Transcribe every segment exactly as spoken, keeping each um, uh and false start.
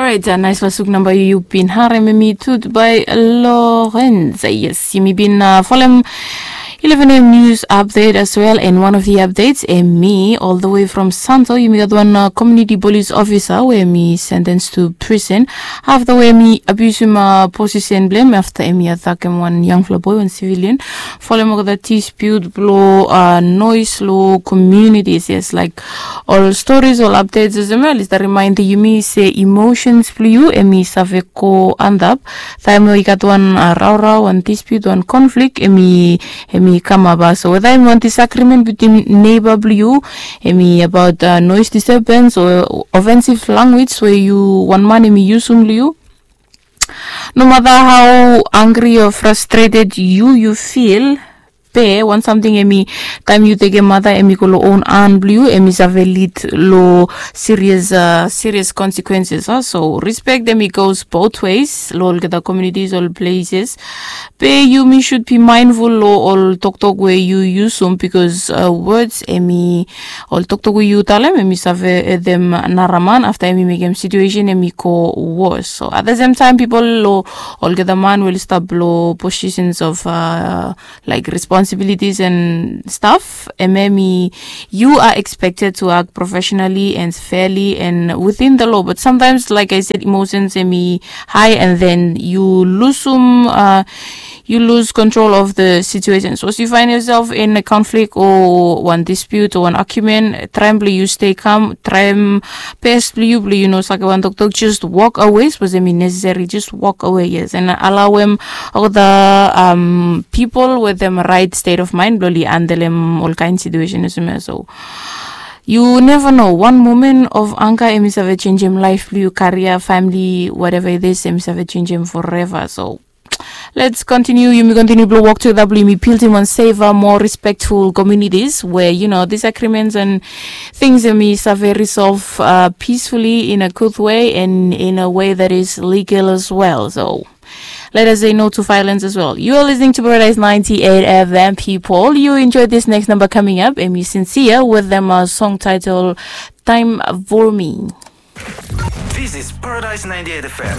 Orait, naispela suk namba yu bin harem em i Tut by Lorenz. Yes, yumi bin folem eleven a.m. news update as well, and one of the updates em i all the way from Santo. Yumi gat wan community police officer we em i sentence to prison afta we em i abusim position blem afta em i atakem wan yangfela boy, wan civilian, folem olgeta dispute blo noise lo communities. Yes, like ol stories, ol updates olsem ya oli stap remind yumi se emotions blo yu em i save go antap taem we i gat wan raorao, wan dispute, wan conflict em i em i kamap. So weda em i wan disagreement bitim neighbor blo yu, em i about noise disturbance o offensive language we yu wan man em i yusum lo yu. No matter how angry o frustrated yu yu feel, be wan samting em i taem yu tekem mata em i go lo own han blo yu, em i save lead lo serious serious consequences. So respect em i goes both ways lo olgeta communities, ol places. Be yumi should be mindful lo ol toktok we yu yusum, because words em i ol toktok we yu talem em i save hetem naraman afta em i mekem situation em i go worse. So at the same time, pipol lo olgeta man we oli stap lo positions of like responsibilities and stuff, em em i you are expected to act professionally and fairly and within the law. But sometimes, like I said, emotions em i high and then you lose some uh, you lose control of the situation. So if you find yourself in a conflict or one dispute or one argument, traem blo yu stay calm, traem best blo yu blo yu no sake wan toktok, just walk away. Sapos em i necessary, just walk away, yes, and allow em all the um, people with them right state of mind blo oli handle em all kind situation. So you never know, one moment of anger em i save changem life blo yu, career, family, whatever it is, em i save changem forever. So let's continue. Yumi continue blo work together blo yumi building one safer, more respectful communities where, you know, disagreements and things em i save resolve uh, peacefully in a good way and in a way that is legal as well. So let us say no to violence as well. You are listening to Paradise ninety-eight F M, people. You enjoy this next number coming up, and you sincere with them a song title Time for Me. This is Paradise ninety-eight F M.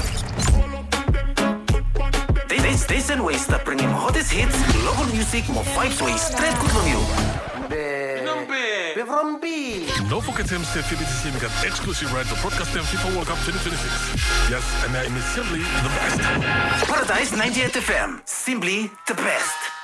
This station we stap bringim hottest hits, local music, mo vibes we stret good long you. Be from B. No fogetem se F B C C em i gat exclusive right blo broadcastem FIFA World Cup twenty twenty-six. Yes, and I am simply the best. Paradise ninety-eight F M, simply the best.